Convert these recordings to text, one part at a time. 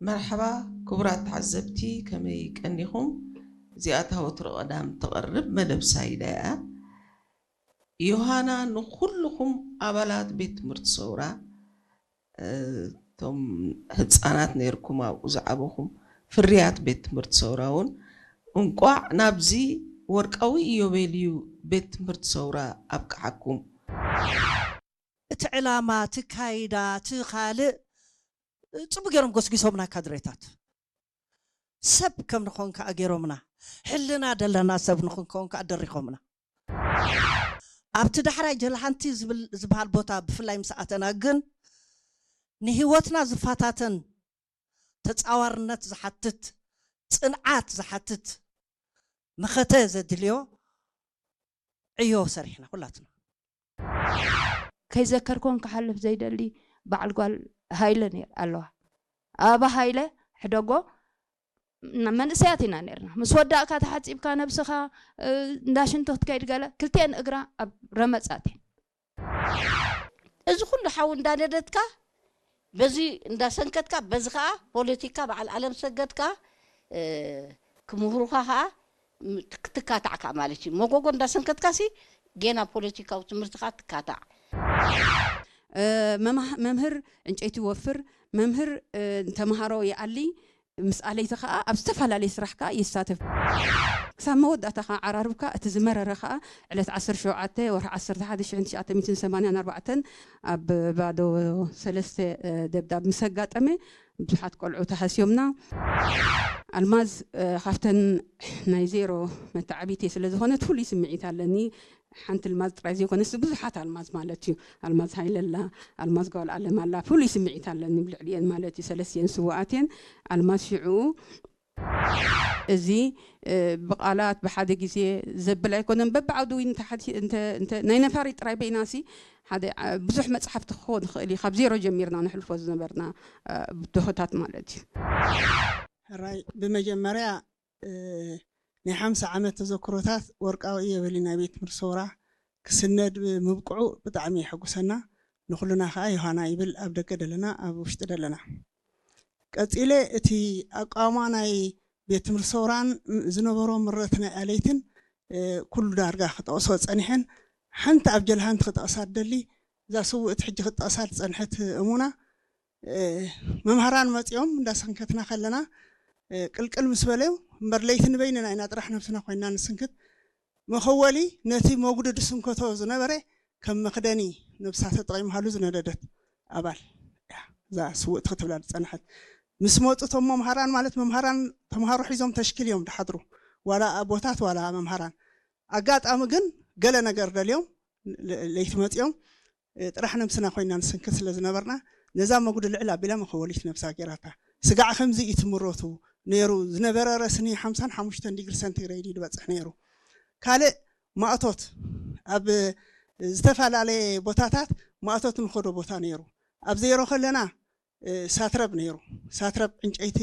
መርሓባ ክቡራት ተዓዘብቲ፣ ከመይ ቀኒኹም? እዚኣ እታ ወትሩ ቀዳም ትቐርብ መደብ ሳይዳ እያ። ዮሃና ንኹልኹም ኣባላት ቤት ትምህርቲ ሰውራ፣ እ፣ እቶም ህፃናት ነይርኩም ኣብኡ ዝዓበኹም ፍርያት ቤት ትምህርቲ ሰውራ እውን እንቋዕ ናብዚ ወርቃዊ ኢዮቤልዩ ቤት ትምህርቲ ሰውራ ኣብቅዓኩም። እቲ ዕላማ፣ እቲ ካይዳ፣ እቲ ካልእ ጽቡቅ ገይሮም ጎስጊሶምና ካድሬታት። ሰብ ከም ንኾን ከኣ ገይሮምና። ሕልና ደለና ሰብ ንኽንከውን ከኣ ደሪኾምና። ኣብቲ ዳሕራይ ጀልሓንቲ ዝብል ዝበሃል ቦታ ብፍላይ ምስ ኣተና ግን ንህይወትና ዝፈታተን ተጻዋርነት ዝሓትት ጽንዓት ዝሓትት መኸተ ዘድልዮ ዕዮ ሰሪሕና ኩላትና። ከይዘከርኩን ክሓልፍ ዘይደሊ በዓል ጓል ሃይለ ነይር ኣለዋ። ኣባ ሃይለ ሕደጎ ን- መንእሰያት ኢና ነርና። ምስ ወዳእካ ተሓጺብካ ነብስኻ እ፣ እንዳ ሽንቶ ክትከይድ ገለ ክልቲኤን እግራ ኣብ ረመጻት እየን። እዚ ኩሉ ሓዊ እንዳነደድካ በዚ እንዳሰንከትካ በዚ ከዓ ፖለቲካ በዓል ዓለም ሰገድ ከዓ እ፣ ክምህሩኻ ከዓ ም- ትካታዕ ከዓ ማለት እዩ። መጎጎ እንዳሰንከትካ ሲ ጌና ፖለቲካዊ ትምህርቲ ከዓ ትካታዕ። መማህ- መምህር ዕንጨይቲ ይወፍር፣ መምህር እ፣ ተምሃሮ ይኣሊ፣ ምስ ኣለይቲ ከዓ ኣብ ዝተፈላለየ ስራሕ ከዓ ይሳተፍ። ክሳብ መወዳእታ ከዓ ዓራርብካ እቲ ዝመረረ ከዓ ዕለት ዓሰርተ ሸውዓተ ወርሒ ዓሰርተ ሓደ ሽሕን ትሽዓተ ሚእትን ሰማንያን ኣርባዕተን ኣብ ባዶ ሰለስተ እ፣ ደብዳብ ምስ ኣጋጠመ ብዙሓት ቆልዑ ተሃስዮምና። ኣልማዝ እ፣ ካብተን ናይ ዜሮ መተዓቢቴ ስለ ዝኾነት ፍሉይ ስምዒት ኣለኒ። ሓንቲ ኣልማዝ ጥራይ ዘይኮነስ ብዙሓት ኣልማዝ ማለት እዩ። ኣልማዝ ሃይለ ኣላ፣ ኣልማዝ ጓል ኣለም ኣላ፣ ፍሉይ ስምዒት ኣለኒ ብልዕሊኤን ማለት እዩ። ሰለስቲኤን ስውኣት እየን። ኣልማዝ ሽዑ እዚ እ፣ ብቓላት ብሓደ ግዜ ዘብል ኣይኮነን። በብዓውዲ ዊን እንተ ሓቲ- እንተ- እንተ- ናይ ነፋሪት ጥራይ በይናሲ ሓደ ዓ- ብዙሕ መፅሓፍቲ ክኸውን ይኽእል እዩ። ካብ ዜሮ ጀሚርና ነሕልፎ ዝነበርና እ፣ ብድሆታት ማለት እዩ። ሕራይ ብመጀመርያ እ፣ ናይ ሓምሳ ዓመት ተዘክሮታት ወርቃዊ ኢዮቤልዩ ናይ ቤት ትምህርቲ ሰውራ ክስነድ ብምብቅዑ ብጣዕሚ የሐጉሰና። ንኹልና ከዓ ዮሃና ይብል ኣብ ደገ ደለና ኣብ ውሽጢ ደለና። ቀጺለ እቲ ኣቃውማ ናይ ቤት ትምህርቲ ሰውራን ዝነበሮ ምረት ናይ ኣለይትን እ፣ ኩሉ ዳርጋ ክጠቕሶ ጸኒሐን ሓንቲ ኣብ ጀልሃንቲ ክጠቕሳ ትደሊ እዛ ስውእቲ ሕጂ ክትጠቕሳ ዝጸንሐት እሙና እ፣ መምሃራን መጺኦም እንዳሰንከትና ከለና እ፣ ቅልቅል ምስ በለዩ እምበር ለይቲ ንበይንና ኢና ጥራሕ ነብስና ኮይና ንስንክት መኸወሊ ነቲ መጉዲ ዝስንከቶ ዝነበረ ከም መኽደኒ ነብሳ ተጠቒምሃሉ ዝነደደት ኣባል እያ እዛ ስውእቲ ክትብላ ዝጸንሐት። ምስ መጹ እቶም መምሃራን ማለት መምሃራን ተምሃሮ ሒዞም ተሽኪል እዮም ድሓድሩ ዋላ ኣቦታት ዋላ መምሃራን ኣጋጣሚ ግን ገለ ነገር ደልዮም ለ- ለይቲ መጺኦም እ፣ ጥራሕ ነብስና ኮይና ንስንክት ስለ ዝነበርና ነዛ መጉዲ ልዕል ኣቢላ መኸወሊት ነብሳ ገይራታ። ስጋዕ ከምዚ እዩ ትምረቱ ነይሩ ዝነበረ ረስኒ ሓምሳን ሓሙሽተን ዲግሪ ሰንቲግሬድ እዩ ዝበጽሕ ነይሩ። ካልእ ማእቶት ኣብ ዝተፈላለየ ቦታታት ማእቶት ንኸዶ ቦታ ነይሩ። ኣብ ዜሮ ከለና እ፣ ሳትረብ ነይሩ። ሳትረብ ዕንጨይቲ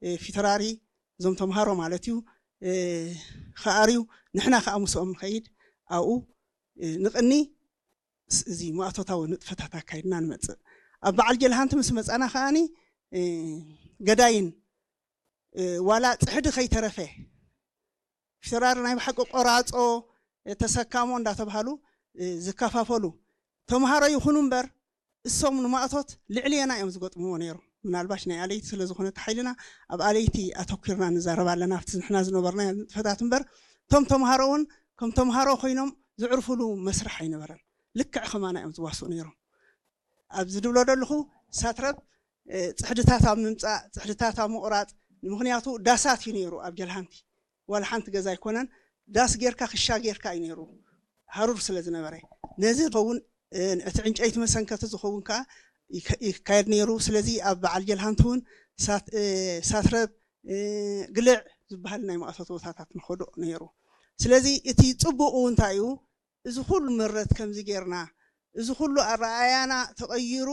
እ፣ ፊተራሪ እዞም ተምሃሮ ማለት እዩ እ፣ ክኣርዩ ንሕና ከዓ ምስኦም ንኸይድ ኣብኡ እ፣ ንቕኒ ስ- እዚ ማእቶታዊ ንጥፈታት ኣካይድና ንመፅእ። ኣብ በዓል ጀልሃንቲ ምስ መፃና ከዓኒ እ፣ ገዳይን እ፣ ዋላ ፅሕዲ ከይተረፈ ፊተራሪ ናይ ብሓቂ ቆራፆ ተሰካሞ እንዳተባሃሉ እ፣ ዝከፋፈሉ ተምሃሮ ይኹኑ እምበር እሶም ንማእቶት ልዕልየና እዮም ዝገጥምዎ ነይሮም። ምናልባሽ ናይ ኣለይቲ ስለ ዝኾነ እቲ ሓይልና ኣብ ኣለይቲ ኣተኲርና ንዛረብ ኣለና ኣብቲ ንሕና ዝነበርናዮ ንጥፈታት እምበር እቶም ተምሃሮ እውን ከም ተምሃሮ ኮይኖም ዝዕርፍሉ መስርሕ ኣይነበረን። ልክዕ ከማና እዮም ዝዋስኡ ነይሮም። ኣብዚ ድብሎ ዘለኹ ሳትረብ እ፣ ፅሕድታት ኣብ ምምፃእ ፅሕድታት ኣብ ምቑራፅ ንምኽንያቱ ዳሳት እዩ ነይሩ ኣብ ጀልሃንቲ ዋላ ሓንቲ ገዛ ኣይኮነን ዳስ ጌርካ ክሻ ጌርካ እዩ ነይሩ ሃሩር ስለ ዝነበረ ነዚ ዝኸውን እ፣ እቲ ዕንጨይቲ መሰንከቲ ዝኸውን ከዓ ይከ- ይካየድ ነይሩ ስለዚ ኣብ በዓል ጀልሃንቲ እውን ሳት- እ፣ ሳትረብ እ፣ ግልዕ ዝበሃል ናይ መቐሰቲ ቦታታት ንኸዶ ነይሩ ስለዚ እቲ ፅቡቑ እንታይ እዩ እዚ ኩሉ ምረት ከምዚ ጌርና እዚ ኩሉ ኣረኣያና ተቐይሩ